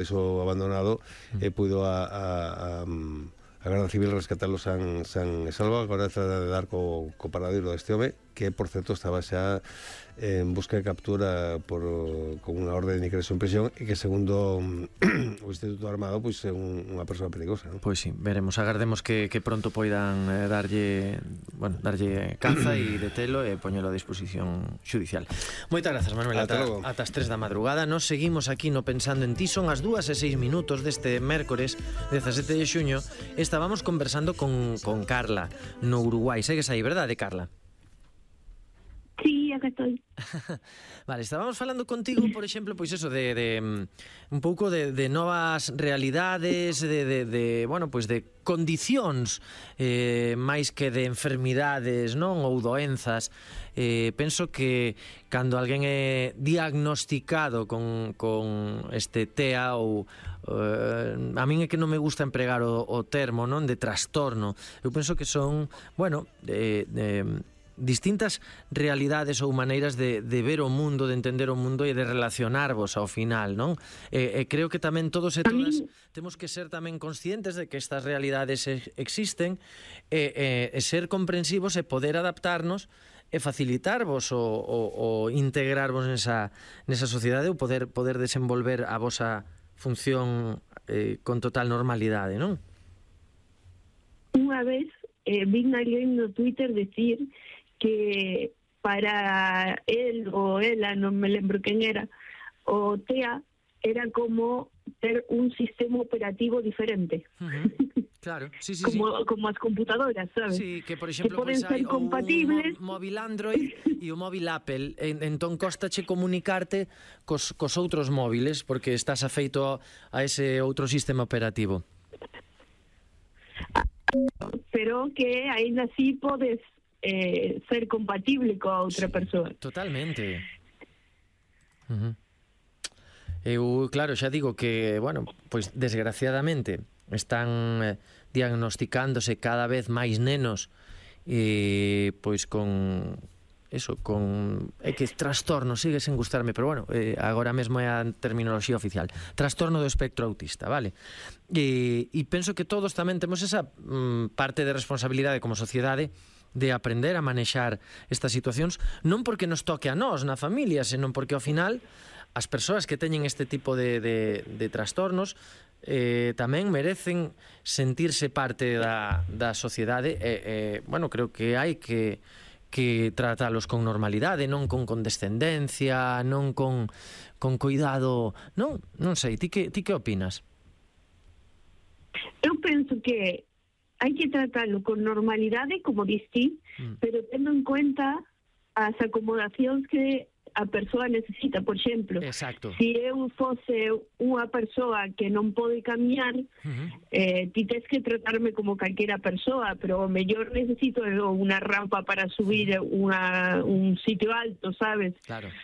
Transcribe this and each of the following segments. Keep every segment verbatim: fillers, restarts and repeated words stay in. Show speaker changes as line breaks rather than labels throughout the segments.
eso abandonado, e puido a, a, a, a Garda Civil rescatarlo san, san e salvo. Agora trata de dar co, co paradeiro deste home, que, por certo, estaba xa en busca de captura por, con unha orde de ingreso en prisión, e que, segundo o Instituto Armado, pois é un, unha persoa perigosa, non?
Pois sí, veremos, agardemos que, que pronto poidan eh, darlle, bueno, darlle caza e detelo e poñelo a disposición xudicial. Moitas grazas, Manuel. Ata, ata as tres da madrugada. Nos seguimos aquí no Pensando en Ti. Son as dúas e seis minutos deste mércores dezasete de xuño. Estábamos conversando con, con Carla no Uruguai. Segues aí, verdade, Carla?
Sí, acá estoy.
Vale, estábamos falando contigo, por exemplo, pois eso de, de un pouco de, de novas realidades, de, de, de bueno, pois de condicións eh, máis que de enfermidades, non, ou doenzas. Eh, penso que cando alguén é diagnosticado con, con este T E A ou eh, a min é que non me gusta empregar o, o termo, non, de trastorno. Eu penso que son, bueno, de, de distintas realidades ou maneiras de, de ver o mundo, de entender o mundo e de relacionarvos ao final, non? E, e creo que tamén todos e todas temos que ser tamén conscientes de que estas realidades existen e, e, e ser comprensivos e poder adaptarnos e facilitarvos o, o, o integrarvos nesa, nesa sociedade ou poder, poder desenvolver a vosa función eh, con total normalidade, non?
Unha vez eh, vi alguén no Twitter decir que para él o ela, non me lembro quen era, o T E A era como ter un sistema operativo diferente.
Uh-huh. Claro, sí, sí,
como,
sí.
como as computadoras, sabes?
Sí, que por exemplo,
que poden
pues,
ser
hai
compatibles.
un móvil Android e o móvil Apple, en, entón costache comunicarte cos, cos outros móviles porque estás afeito a, a ese outro sistema operativo.
Pero que ainda así podes eh, ser compatible coa outra sí, persoa.
Totalmente. Uh-huh. Eu, claro, xa digo que, bueno, pois desgraciadamente están eh, diagnosticándose cada vez máis nenos e pois con eso, con é que trastorno sigue sen gustarme, pero bueno, eh, agora mesmo é a terminoloxía oficial. Trastorno do espectro autista, vale? E, e penso que todos tamén temos esa mm, parte de responsabilidade como sociedade de aprender a manexar estas situacións, non porque nos toque a nós na familia, senón porque ao final as persoas que teñen este tipo de, de, de trastornos eh, tamén merecen sentirse parte da, da sociedade e, eh, bueno, creo que hai que que tratalos con normalidade, non con condescendencia, non con, con cuidado, non, non sei, ti que, ti que opinas?
Eu penso que hai que tratarlo con normalidade, como dixi, mm. pero tendo en cuenta as acomodacións que a persoa necesita. Por exemplo,
exacto,
se eu fose unha persoa que non pode camiñar, uh-huh. eh, ti tes que tratarme como calquera persoa, pero o mellor necesito unha rampa para subir unha, un sitio alto, sabes?
Claro.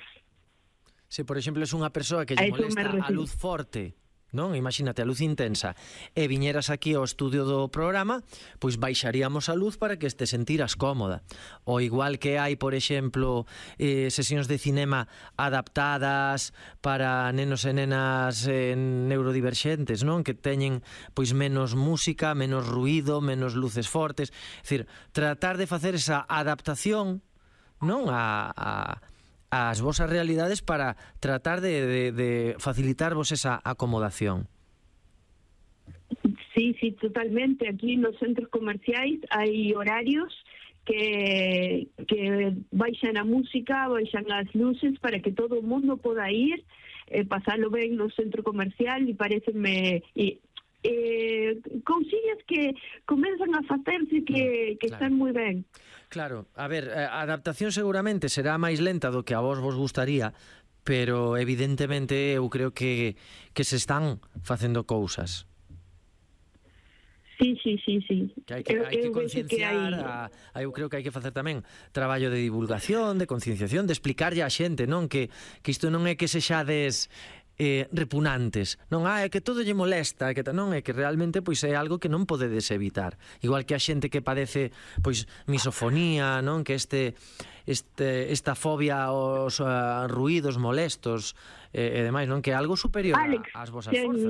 Se, por exemplo, es unha persoa que lle molesta a luz forte, non? Imagínate, a luz intensa, e viñeras aquí ao estudio do programa, pois baixaríamos a luz para que te sentiras cómoda. O igual que hai, por exemplo, eh, sesións de cinema adaptadas para nenos e nenas eh, neurodiverxentes, non? Que teñen pois menos música, menos ruído, menos luces fortes. É dicir, tratar de facer esa adaptación, non? A... a as vosas realidades para tratar de, de, de facilitarvos esa acomodación.
Sí, sí, totalmente. Aquí nos centros comerciais hai horarios que, que baixan a música, baixan as luces para que todo o mundo poda ir, eh, pasalo ben no centro comercial, e parecenme... E, eh, cousillas que comenzan a facerse que, que claro. Están moi ben.
Claro, a ver, a adaptación seguramente será máis lenta do que a vos vos gustaría, pero evidentemente eu creo que, que se están facendo cousas.
Sí, sí, sí, sí.
Que hai que, hai que concienciar, que hai... a, eu creo que hai que facer tamén traballo de divulgación, de concienciación, de explicarlle á xente, non, que, que isto non é que sexades eh, repugnantes, non, ah, é que todo lle molesta, que non, é que realmente pois é algo que non podedes evitar, igual que a xente que padece pois misofonía, non, que este este esta fobia aos uh, ruídos molestos eh, e demais, non, que é algo superior
Alex,
ás vosas forzas.